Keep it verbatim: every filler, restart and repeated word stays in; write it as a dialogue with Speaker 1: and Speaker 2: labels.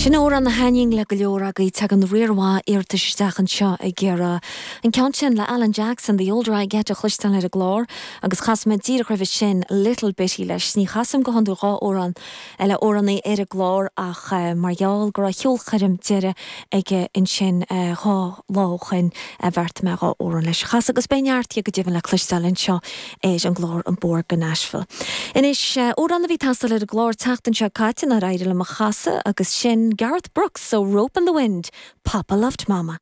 Speaker 1: Sin amhrán a thaitníonn le go leor agaibh tagann riar mhaith iarratais isteach anseo ag iarraidh. An ceann sin le Alan Jackson, The Older I Get a chloisteáil ar an gclár, agus chas mé díreach roimhe sin Little Bitty leis. Ní chasaim go hiondúil dhá amhrán le amhránaí ar an gclár ach uh, mar gheall go raibh ceolchoirm deiridh aige ansin uh, dhá lá ó shin a bheart mé dhá amhrán leis. Chas agus beidh neart go deimhin le cloisteáil anseo ar an gclár an Bóthar go Nashville. Anois amhrán a bhí ag teastáil ar an gclár tseachtain seo caite nár éirigh liom a chasadh agus sin Garth Brooks ó Rope in the Wind, Papa Loved Mama.